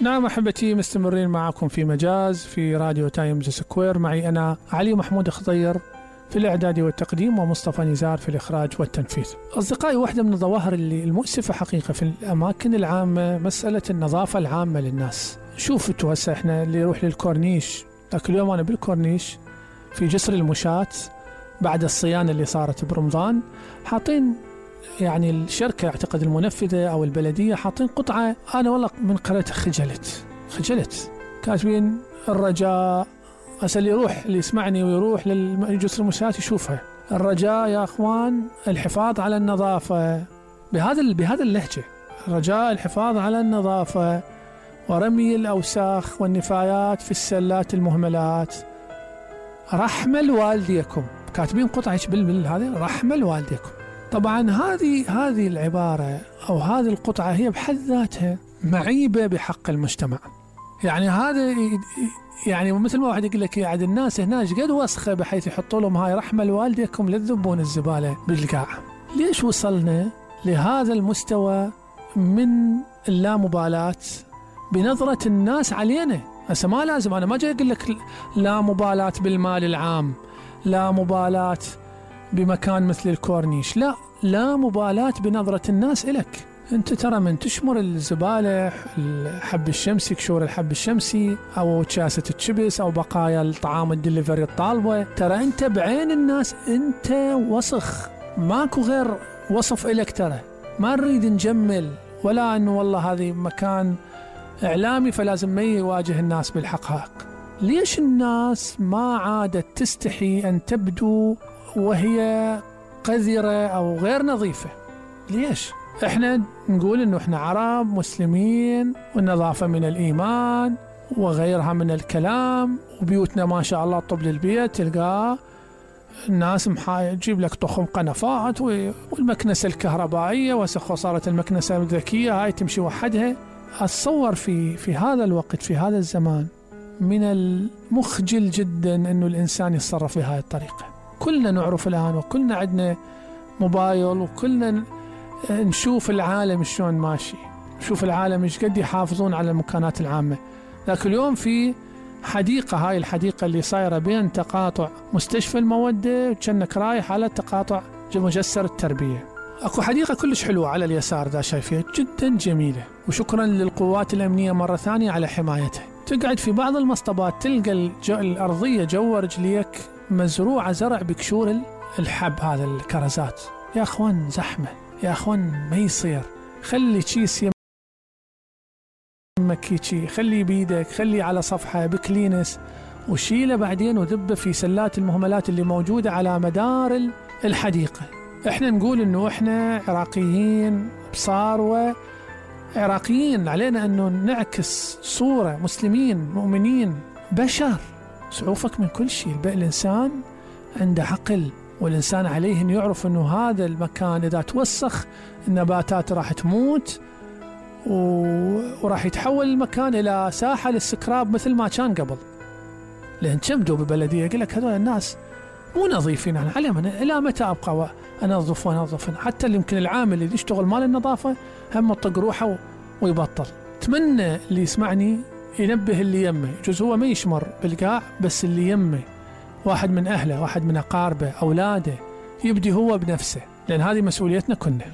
نعم أحبتي، مستمرين معكم في مجاز في راديو تايمز سكوير. معي أنا علي محمود خضير في الإعداد والتقديم، ومصطفى نزار في الإخراج والتنفيذ. أصدقائي، واحدة من الظواهر المؤسفة حقيقة في الأماكن العامة مسألة النظافة العامة للناس. شوفتوا هسه إحنا اللي يروح للكورنيش، ذاك اليوم أنا بالكورنيش في جسر المشاة بعد الصيانة اللي صارت برمضان، حاطين يعني الشركة اعتقد المنفذة أو البلدية حاطين قطعة، أنا والله من قرأتها خجلت، كاتبين الرجاء. هسه اللي يسمعني ويروح للجسر المشاة يشوفها، الرجاء يا أخوان الحفاظ على النظافة، بهذا اللهجة، الرجاء الحفاظ على النظافة ورمي الأوساخ والنفايات في السلات المهملات، رحمة لوالديكم. كاتبين قطعة هذه رحمة لوالديكم. طبعا هذه العبارة أو هذه القطعة هي بحد ذاتها معيبة بحق المجتمع. يعني هذا يعني مثل ما واحد يقول لك يعني الناس هنا قد وسخة بحيث يحطوا لهم هاي رحمة لوالديكم لا تذبون الزبالة بالقاع. ليش وصلنا لهذا المستوى من اللامبالاة بنظرة الناس علينا؟ هسه ما لازم، أنا ما جاي أقول لك لا مبالاة بالمال العام، لا مبالاة بمكان مثل الكورنيش، لا مبالاة بنظرة الناس إلك. أنت ترى من تشمر الزبالة، الحب الشمسي، كشور الحب الشمسي أو كاسة الشبس أو بقايا الطعام الدليفري الطالبة، ترى أنت بعين الناس أنت وسخ، ماكو غير وصف إلك. ترى ما نريد نجمل ولا أنه والله هذه مكان إعلامي فلازم ما يواجه الناس بالحقائق. ليش الناس ما عادت تستحي أن تبدو وهي قذرة أو غير نظيفة؟ ليش؟ احنا نقول انه احنا عرب مسلمين والنظافة من الإيمان وغيرها من الكلام، وبيوتنا ما شاء الله طب للبيت، تلقاه الناس تجيب لك طخم قنفات والمكنسة الكهربائية، وصارت المكنسة الذكية هاي تمشي وحدها. أتصور في هذا الوقت في هذا الزمان من المخجل جدا انه الإنسان يتصرف بهذه الطريقة. كلنا نعرف الآن وكلنا عندنا موبايل وكلنا نشوف العالم شلون ماشي، نشوف العالم ايش قد يحافظون على المكانات العامة. ذاك اليوم في حديقة، هاي الحديقة اللي صايرة بين تقاطع مستشفى المودة وكأنك رايح على تقاطع مجسر التربية. اكو حديقة كلش حلوة على اليسار ذا شايفيها جدا جميلة، وشكرا للقوات الأمنية مرة ثانية على حمايتها. تقعد في بعض المصطبات تلقى الأرضية جوا رجليك مزروعة زرع بكشور الحب، هذا الكرزات. يا أخوان زحمة، يا أخوان ما يصير. خلي كيس يمك هيجي، خلي بيدك، خلي على صفحة بكلينس وشيله بعدين وذبه في سلات المهملات اللي موجودة على مدار الحديقة. احنا نقول انه احنا عراقيين بصار، وعراقيين علينا انه نعكس صورة مسلمين مؤمنين بشر، سعوفك من كل شيء. الإنسان عنده عقل، والإنسان عليه أن يعرف أنه هذا المكان إذا توسخ النباتات راح تموت وراح يتحول المكان إلى ساحة للسكراب مثل ما كان قبل. لأن كمدوا ببلدية يقول لك هذول الناس مو نظيفين، أنا عليهم إلى متى أبقى أنظف؟ حتى اللي يمكن العامل اللي يشتغل مال النظافة هم يطق روحه ويبطل. أتمنى اللي يسمعني ينبه اللي يمه، يجوز هو ما يشمر بالقاع، بس اللي يمه واحد من أهله، واحد من أقاربه، أولاده، يبدي هو بنفسه، لأن هذه مسؤوليتنا كلنا.